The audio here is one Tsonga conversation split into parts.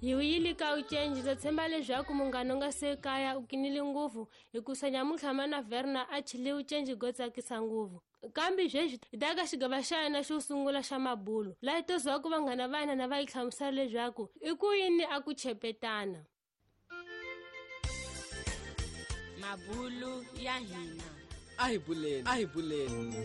Hi wuyile ka ucenji ndza tshemba leswaku munghana u nga se kaya u kinile ngopfu hikusa nyamuntlha mana Verna a chile ucenji go tsakisa ngopfu. Kambe sweswi hi ta ka xigava xa yena xo sungula xa mabulo laha hi to zwaku vanghana va hina na va yi hlamusela leswaku i ku yini a ku chepetana. Mabulo ya hina. A hi buleni, a hi buleni.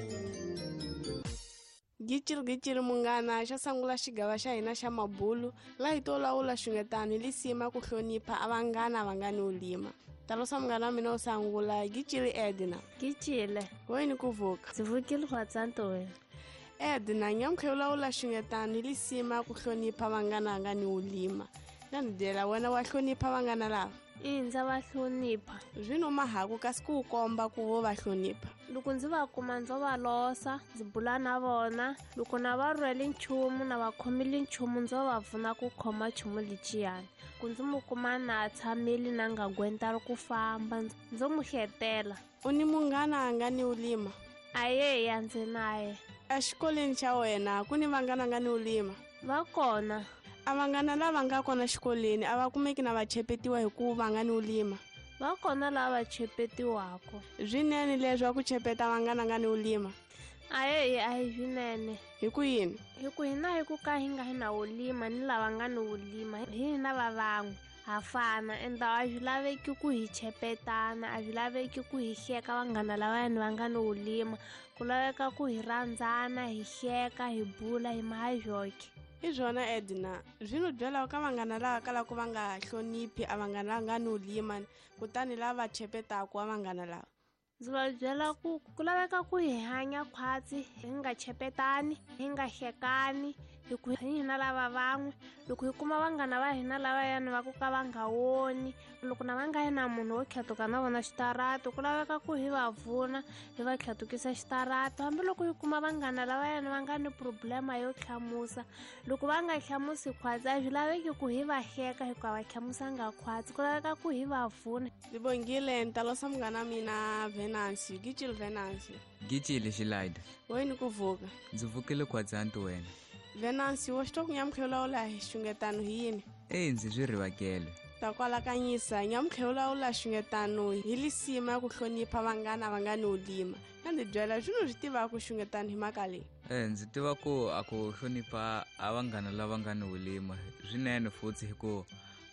Gicili gicili munghana xo sungula xigava xa hina xa mabulu laha hi to lawula xungetano hi lisima ku hlonipha a vanghana va nga ni ulima. Talosa munghana wa mina wo sungula gicili Edna. Gicile. Wena ku vuka. Ndzi vukile khwatsanto wena. Edna nyamutlha yo lawula xungetano hi lisima ku hlonipha vanghana va nga ni ulima. Na ni byela wena wa hlonipha vanghana lava? Ina, ndza va hlonipha. Zwino mahaku kasi ku komba ku vo va hlonipha. Loko ndzi va kuma ndzo va losa, ndzi bula na vona, loko na va rhwele nchumu na va khomile nchumu ndzo va pfuna ku khoma nchumu lexiyani. Ku ndzi mu kuma na tshamile na nga gwenta ri ku famba, ndzo mu hletela. U ni munghana a nga ni ulima? Ayeya, ndzi naye. Exikolweni xa wena ku ni vanghana nga ni ulima? Va kona. A vanghana lava nga kona xikolweni a va kumeki na va chepetiwa hi ku va nga ni ulima? Va kona lava chepetiwaka. Swinene leswi ku chepeta vanghana nga ni ulima? Ayeya, a hi swinene. Hi ku yini? Hi ku hina hi ku ka hi nga hi na ulima ni lava nga ni ulima, hi hina va van'we. Ha fana, ende a swi laveki ku hi chepetana, a swi laveki ku hi hleka vanghana lavayani va nga ni ulima. Ku laveka ku hi rhandzana, hi hleka, hi bula, hi maha joke. I swona Edna, swi no byela ka vanghana lava kalaka va nga hloniphi a vanghana lava nga ni ulima, kutani lava chepetaka a vanghana lava. Ndzi va byela ku ku laveka ku hi hanya khwatsi, hi nga chepetani, hi nga hlekani, hi ku hi hina lava van'we. Loko hi kuma vanghana va hina lavayani va ku ka va nga woni, loko na va nga yi na munhu wo tlhatuka na vona xitarata, ku laveka ku hi va pfuna, hi va tlhatukisa xitarata. Hambiloko hi kuma vanghana lavayani va nga ni problema yo hlamusa, loko va nga hlamusi khwatsi, a swi laveki ku hi va hleka hikuva va hlamusanga khwatsi, ku laveka ku hi va pfuna. Ndzi bongile, ni ta losa munghana wa mina Venancio. Gicile Venancio. Gicile Xilaida. Wena ku vuka. Ndzi vukile khwatsanti wena. Venancio, wa swi twa ku nyamutlha lawula hi xungetano hi yini? Eyi, ndzi swi rivakele. Ta kwalakanyisa, nyamutlha lawula xungetano hi lisima ya ku hlonipha vanghana va nga ni ulima. Na ndzi byela swilo swi tivaka ku xungetano hi mhaka leyi. Ndzi tiva ku a ku hlonipha a vanghana lava nga ni ulima swinene futhi hi ku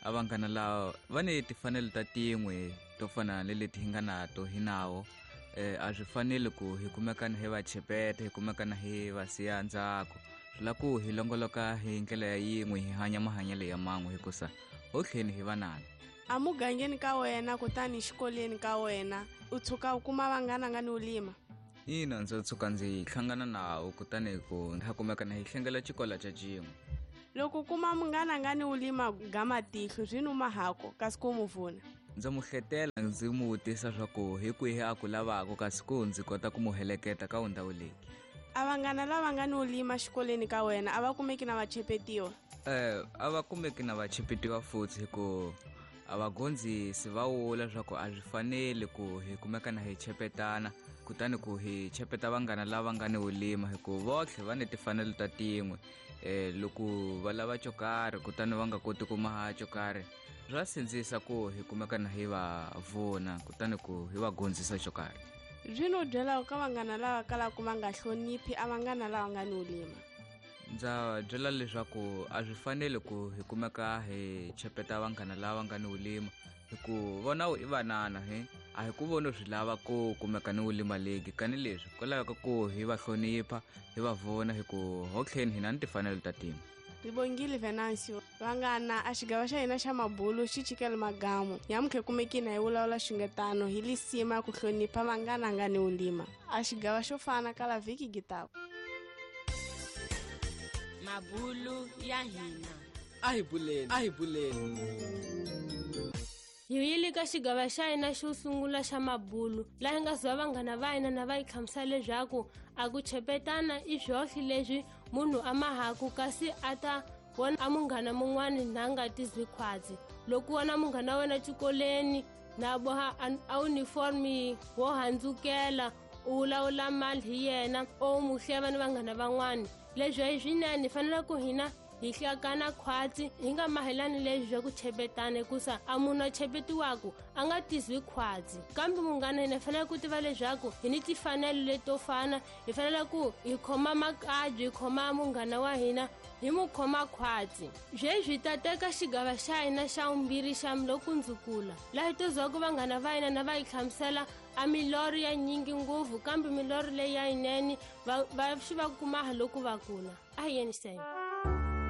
a vanghana lava va ni timfanelo ta tin'we to fana ni leti hi nga nato hi nawo. A swi faneli ku hi kumekana hi va chepeta, hi kumekana hi va siya ndzhaku. Swi lava ku hi longoloka hi ndlela ya yin'we, hi hanya mahanyelo ya man'we hikusa ho tlheni hi vanana. A mugangeni ka wena kutani xikolweni ka wena u tshuka u kuma vanghana nga ni ulima? Ina, ndzi tshuka ndzi hlangana nawo kutani ku ha kumekana hi hlengela xikolo xa xin'we. Loko u kuma munghana nga ni ulima ga matihlo swi numa hako kasi ku mu pfuna. Ndzi mu hletela ndzi mu vutisa swa ku hi kwihi a ku lavaka kasi ku ndzi kota ku mu heleketa ka ndhawu leyi. A vanghana lava nga ni ulima xikolweni ka wena a va kumeki na va chepetiwa? A va kumeki na va chepetiwa futhi hi ku a vagondzisi va vula leswaku a swi faneli ku hi kumekana hi chepetana, kutani ku hi chepeta vanghana lava nga ni ulima hi ku votlhe va ni timfanelo ta tin'we. Loko va lava xo karhi kutani va nga koti ku maha xo karhi, swa sindzisa ku hi kumekana hi va vona kutani ku hi va gondzisa xo karhi. Zwino byela ka vanghana lava kalaka va nga hloniphi a vanghana lava nga ni ulima? Ndza byela leswaku a swi faneli ku hi kumeka hi chepeta vanghana lava nga ni ulima, hi ku vona i vanana he a hi ku voni swi lava ku kumeka ni ulima legi kani leswi ku laveka ku hi va hlonipha, hi va vona hi ku ho tlheni hina ni timfanelo ta tin'we. Ribongile Venancio, vanghana a xigava xa hina xa mabulu xi chikele magamu. Nyamutlha kumekini hi vulavula xungetano hi lisima ku hlonipha vanghana nga ni ulima. A xigava xo fana kala vhiki gitako. Mabulu ya hina. A hi buleni, a hi buleni. Hi yile ka xigava xa hina xo sungula xa mabulu laha hi nga zuva vanghana va hina na va yi hlamusela leswaku a ku chepetana i swohle leswi munhu a mahaku kasi a ta vona a munghana mun'wani na nga tizwi khwatsi. Loko wona munghana wa wena xikolweni na boha a uniform wo handzukela, u vulavula mali hi yena o mu hleva ni vanghana van'wani. Leswi hi swinene, hi fanele ku hina Hi hlakana khwatsi, hi nga mahelani leswi swa ku chepetana, hikusa a munhu a chepetiwaku a nga tizwi khwatsi. Kambe munghana, hina hi fanele ku tiva leswaku hi ni timfanelo leto fana, hi fanele ku hi khoma makabyi, hi khoma munghana wa hina, hi mu khoma khwatsi. Sweswi hi ta teka xigava xa hina xa vumbirhi xa lokundzukula, laha hi tozwaku vanghana va hina na va hi hlamusela a milorho ya nyingi ngopfu, kambe milorho leyi ya yinene va swi va kumaha loko va kula. A hi yeniseni.